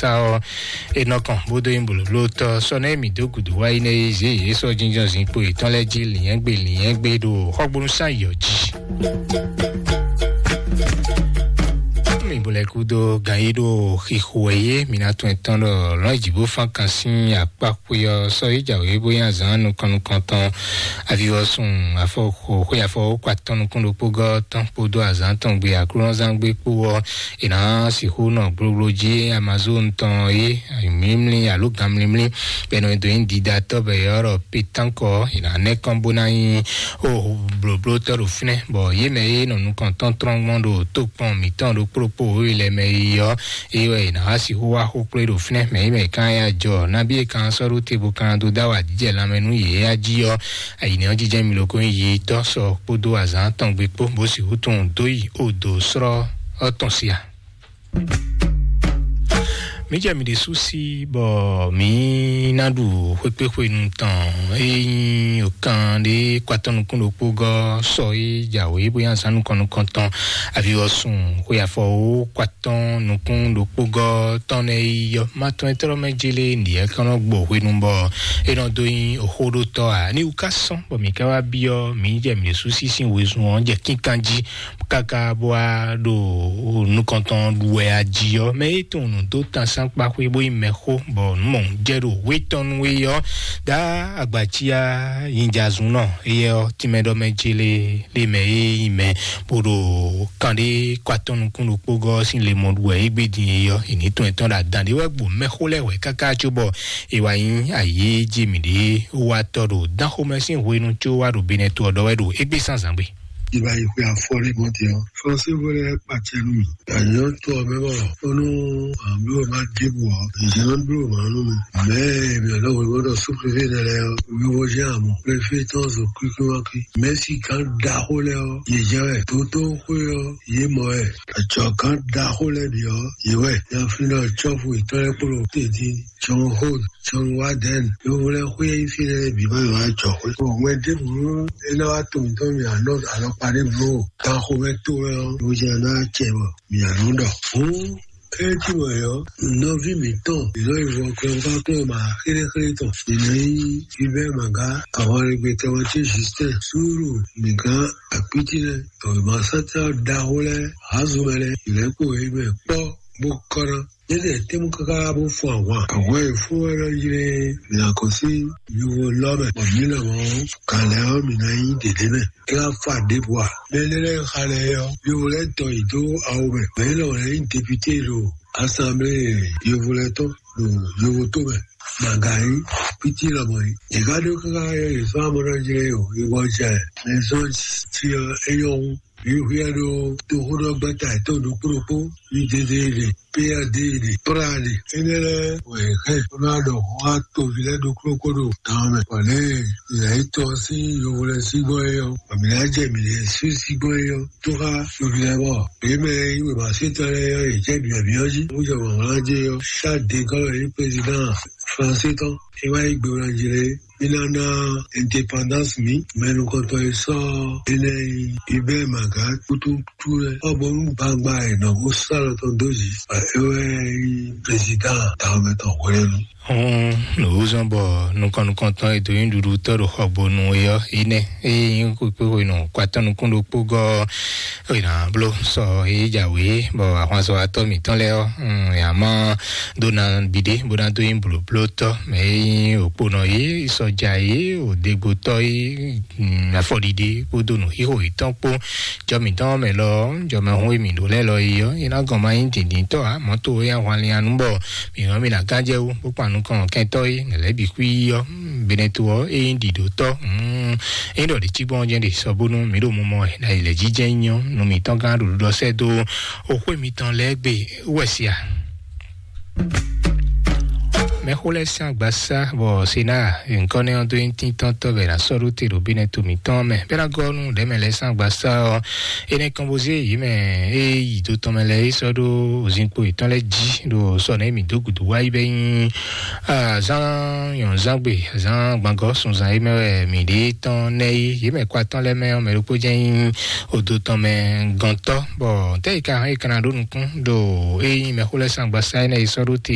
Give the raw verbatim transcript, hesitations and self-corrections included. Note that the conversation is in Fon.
ta ɔ́, e nɔ kɔn bó dó nyí blǒblótɔ́. Sɔ nɛ́ mǐ dó gǔdo wá yi nɛ́ e zě yě sɔ́ jínjɔ́n zinkpo yětɔn lɛ́ɛ jí lǐnyɛ́gbe lǐnyɛ́gbe ɖo xɔgbónú sán yɔ̌ jí. Mi bo lɛ kúdó gan yi ɖo xixo wɛ yé, mi ná tún ɛ tɔn ɖɔ lɔn jǐ bó fán kan sín akpa xwe ɔ́, sɔ yi jǎwe bó nyí azǎn nukɔn nukɔntɔn avivɔsun afɔ xo xwe afɔ kó atɔn nukún ɖokpó gɔ́ tɔn kpódó azǎn tɔn gbe aklúnɔzán gbe kpó ɔ́, è nǎ sixú nɔ gblogblo jí Amazon tɔn é mlímlí alo gan mlímlí bɔ è nɔ dó nyí didatɔ́ bɔ è ylɔ́ ɖɔ pétánkɔ, è nǎ nɛ́ kɔn bó ná nyí ó blǒblótɔ́ ɖo fínɛ́, bɔ yě mɛ e nɔ nukɔntɔn tlɔ́n gbɔn ɖo tókpɔn mǐtɔn ɖokpó ɖokpó wěwe lɛ́ɛ mɛ é ɔ́, é wɛ è nǎ wá sixú wá xó kplé ɖo fínɛ́, mɛ é mɛ kan ya jɔ nabí e kan sɔ́ ɖó te bó kan dó dó awa jijɛ lanmɛ nú yě a jí ɔ́, ayǐnɛ́ ɔ́ jijɛ mi loko nyí yi tɔ́ sɔ kpódó azǎn tɔn gbe kpó bó sixú tunwun dó yi odo srɔ́ ɔ́ tɔn sia. Mǐ jɛ mǐ ɖésú sí bɔ mǐ ná ɖu xwékpéxwenu tɔn e nyí okan ɖé kpatɔ́ nukún ɖokpó gɔ́ sɔ e jǎwe bóyá zán nukɔn nukɔn tɔn avivɔsun xwe afɔ wó kpatɔ́ nukún ɖokpó gɔ́ tɔn nɛ́ yi yɔ. Má tɔn e tlɔ́ mɛ jélé nǐyɛ́ kɔn nɔ gbɔ hwenu bɔ é nɔ dó nyí xóɖótɔ́ ǎ. Ní wú ká sɔ́n bɔ mǐ ká wá byɔ́ mǐ jɛ mǐ ɖésú sí sín wezun ɔ́ jɛ kínkan jí káká bó wá ɖo nukɔntɔn ɖu wɛ ají ɔ́, mɛ e tunwun nǔ dó tan sánkpa xwé bó nyí mɛxó, bɔ nǔ mɔ̌ jɛ ɖo wé tɔn nú é ɔ́, dá agbacia nyinjazunnɔ éyɛ́ ɔ́, tínmɛ ɖɔ mɛ jélé lé mɛ e nyí mɛ bó ɖo kanɖé kɔ atɔn nukún ɖokpó gɔ́ sín le mɔ ɖu wɛ é gbé din é ɔ́, è ní tɔn ɛtɔn ɖo adǎn ɖé wɛ gbo mɛxó lɛ́ɛ wɛ káká cóbɔ è wá nyí ayǐ jí mǐɖée wá tɔ ɖo dánxomɛ sín hwenu có wá ɖo benɛto ɔ́ ɖɔ wɛ ɖo égbé zǎnzǎn gbe. Ìgbà yìí pé afɔlé mọ́ ti ɔ́. Fɔnsí bó lɛ pàtẹ nú mi. Àyàn tó ọmọ bọ̀. Ó nú àbí o máa dìbò ọ́. Ìjẹ́ ló ń dúró màá nú mi. Mẹ́ èmi ọ̀dọ́ wo gbọ́dọ̀ sún préfé náà lẹ ọ́. Wíwo jẹ́ àmọ́. Préfé tán sọ kíkí wá kí. Mẹ́sì kan da ó lẹ ọ́. Yèjẹ́ rẹ̀ tó tó xwé ọ́. Yé mọ̀ ẹ́. Àjọ kan da ó lẹ bì ọ́. Yé wẹ̀. Yàfin náà tsọ́fù ìtọ́lẹ́kpọ̀lọ́ tètè. John Holt, John Warden, yovó lɛ xwé yí fi lɛ bǐ ma yɔ ajɔ xwé. Bɔ wɛ ɖěbǔ é ná wá to mǐtɔn mì anɔ alɔkpa ɖěbǔ o. Ganxomɛ to wɛ ɔ́, ló jɛ ná cɛ bɔ mì anɔ ɖɔ. Hǔn é cí wɛ ɔ́, nɔví mǐtɔn, ìlɔ ìwọ kɔnfákún ma xéléxélé tɔn. Ìlọ yí Hubert Maga, àwọn arìngbètè wọn tí Justin, Súúrù, nìkan àpítí lɛ, ọ̀rọ̀ màá sátá ɖaxó lɛ, àázùmɛ lɛ, ìlẹ́kùn é mɛ kpɔ́ bó kɔ́ ná. Yédè tɛ́mú káká bó fún àwọn. Àwọn èfún wɛ lɔ yi lé mìlá kɔ sí yovo lɔ mɛ. Bɔ mǐ nɔ mɔ kalɛ ɔ́ mǐ ná nyí dědé mɛ. É wá fa ɖěbǔ a? Mɛ énɛ́ lɛ́ɛ xa lɛ ɔ́, yovo lɛ́ɛ tɔ yě dó awo mɛ. Mɛ élɔ́ lɛ́ɛ nyí député ɖo assemblée yovo lɛ́ɛ tɔn ɖo yovo tó mɛ. Màgà yí pítí lɔmɔ yí. Yě ká ɖó káká yɔ yě sɔ́ amɔ́ ná jlé o. Yě bɔ jɛ mɛ zɔn ti ɔ́ é nyɔ́ wú. Wíwíɛ ɖó toxóɖɔgbɛ́ta yětɔn ɖokpó ɖokpó, yídédéɖé, péyadéɖé, práɖé. Énɛ́ lɛ́ɛ wɛ è hɛn bó ná ɖɔ xó xá toví lɛ́ɛ ɖokpó ɖokpó ɖo gan ɔ́ mɛ. Bɔ lě e è nǎ yi tɔ́ sín yovo lɛ́ɛ sí gbɔn é ɔ́, bɔ mǐ ná jɛ mǐ lɛ́ɛ sí sí gbɔn é ɔ́, tó xá toví lɛ́ɛ bɔ yě mɛ e nyí wěmasétɔ́ lɛ́ɛ ɔ́, yě jɛ bǐbɛ́bí ɔ́ jí, bó jɛ wǎnwlán jɛ é ɔ́, Charles de Gaulle e nyí président français tɔn, é wá yí gbe wlán jí lé. Mí ná ná indépendance mǐ, mɛ nukɔntɔn e sɔ́ énɛ́ nyí Hubert Maga kútútú lɛ́ɛ. Ɔ́ bónú gbangba e nɔ bó sɔ́ alɔ tɔn dó jí, bɔ é wɛ nyí président tawun mɛ tɔn hwenu. Hɔn lǒzɔn bɔ nukɔn nukɔntɔn e dó nyí ɖuɖutɔ́ ɖo xɔgbonu é ɔ́, énɛ́ é nyí kpékpé hwenu kpatɔ́ nukún ɖokpó gɔ́ é nǎ bló sɔ é jǎwe bɔ ahwanzɔ́watɔ́ mǐtɔn lɛ́ɛ ɔ́, yě má dó ná biɖé bó ná dó nyí blǒblótɔ́ mɛ e nyí òkponɔ é, sɔja é, òdegbotɔ́ é, afɔɖiɖe kpódó nǔxixo yětɔn kpó. Jɔ mǐtɔn mɛ lɔ, jɔ mɛ hun e mǐ ɖó lɛ́ɛ lɔ é ɔ́, é ná gɔn ma nyí dǐndíntɔ́ ǎ. Mɔ̌ to é ahwan lian nú bɔ mǐ hɔn mí ná gán jɛ wú bó kpan nukɔn kɛntɔ́ é nɛ̌ lɛ́ bǐ xwí ɔ́, benɛto ɔ́ é nyí ɖiɖǒtɔ́. É ɖɔ ɖě cí gbɔn jɛ́n ɖe sɔ bónú mǐ ɖo mumɔ ɛ ɖo ayǐ lɛ́ jí jɛ́n nyɔ́ nú mǐtɔn gán ɖo ɖuɖɔ sɛ́ dó oxwé mitɔn lɛ́ɛ gbe wɛ sia. Mɛxó lɛ́ɛ sín agbasá bɔ sena nkɔnɛ́ ɔ́ dó nyí tíntɔ́ntɔ́ bɛ ná sɔ́ ɖó te ɖo bínɛ to mǐtɔn mɛ bɛ ná gɔ́ nú ɖɛ̌mɛ lɛ́ɛ sín agbasá ɔ́. Énɛ́ kɔn bó zé yě mɛ e yi do tɔn mɛ lɛ́ɛ é sɔ́ ɖó zinkpo yětɔn lɛ́ɛ jí ɖo sɔ nɛ̌ mǐ dó gǔdo wá yi bɛ nyí azán nyɔ̌nzángbe azán gbangɔ sunzan é mɛ wɛ mǐ ɖe tɔn nɛ́ yí yě mɛ kɔ atɔ́ lɛ́ɛ mɛ ɔ́ mɛ ɖokpó jɛ́n nyí odo tɔn mɛ gɔntɔ́ bɔ tɛ́ yi ka hɛn yi kana ɖó nukún ɖo é nyí mɛxó lɛ́ɛ sín agbasá énɛ́ yi sɔ́ ɖó te